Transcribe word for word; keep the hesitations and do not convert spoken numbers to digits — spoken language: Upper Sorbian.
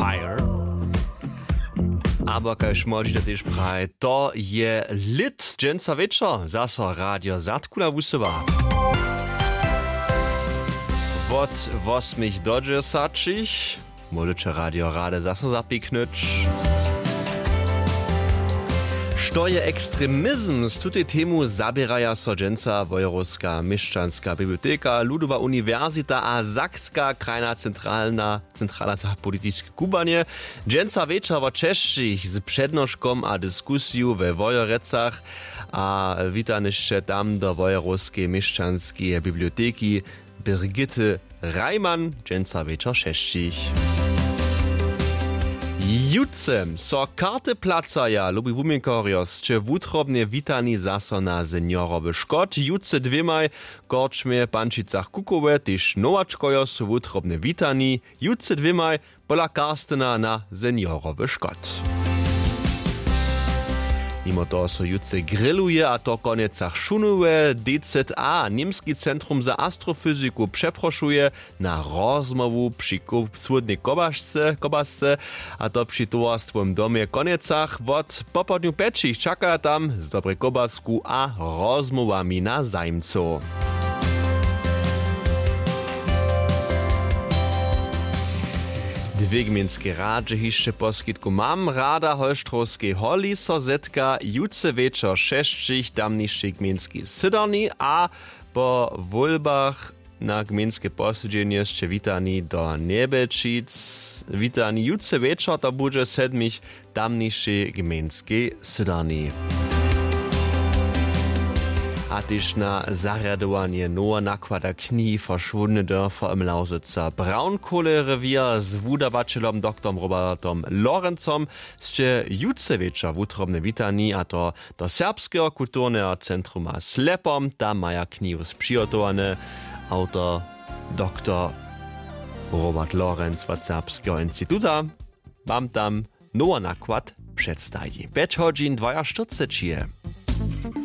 Fire. Abo kaž młodźina tež praje, to je lět. Dźensa wječor zaso Radio Zadkula wusyła. Wot wosmich do dźesaćich móžeće Radio Rady zaso zapiknyć. Što je ekstremizm? Z tutej temu zaběraja so dźensa Wojerowska měšćanska biblioteka, Ludowa uniwersita a Sakska krajna centralna centrala za politiske kubłanje. Dźensa wječor wot šesćich z přednoškom a diskusiju we Wojerecach a witanyšće tam do Wojerowskeje měšćanskeje biblioteki Brigitte Reimann, dźensa wječor šesćich. Jutře so karty placaja, lubi wuměnkarjo, sće wutrobnje witani zaso na seniorowy škot. Jutře dwěmaj w korčmje w Pančicach Kukowe tež nowačkojo su wutrobnje witani. Jutře dwěmaj pola Karstena na seniorowy škot. Nimo toho so jutře grilluje, a to w Konjecach Šunowe. D Z A, Němski centrum za astrofyziku, přeprošuje na rozmołwu při ko- słódnej kobašce, kobasce, a to při towarstwowym domje w Konjecach. Wot popołdnju pjećich čakaja tam z dobrej kobasku a rozmołwami na zajimcow. Dwě gmejnske radźe hišće poskitku mam. Rada w Holštrowskej holi so zetka jutře wječor šesćich w tamnišej gmejnskej sydarni a po wólbach na gmejnske posedźenje sće witani do Njebjelčic. Witani jutře wječor, to budźe w sedmich w tamnišej gmejnskej sydarni. A tež na zarjadowanje noweho nakłada knihi Verschwundne Dörfer im Lausitzer Braunkohlerewěr z wudawaćelom doktorom Robertom Lorencom sće jutře wječor wutrobnje witani, a to do Serbskeho kulturneho centruma Slepom. Tam maja knihu přihotowane. Awtor doktor Robert Lorenc wot Serbskeho instituta wam tam nowy nakład předstaji. Pjeć hodźin dwajaštyrceći je.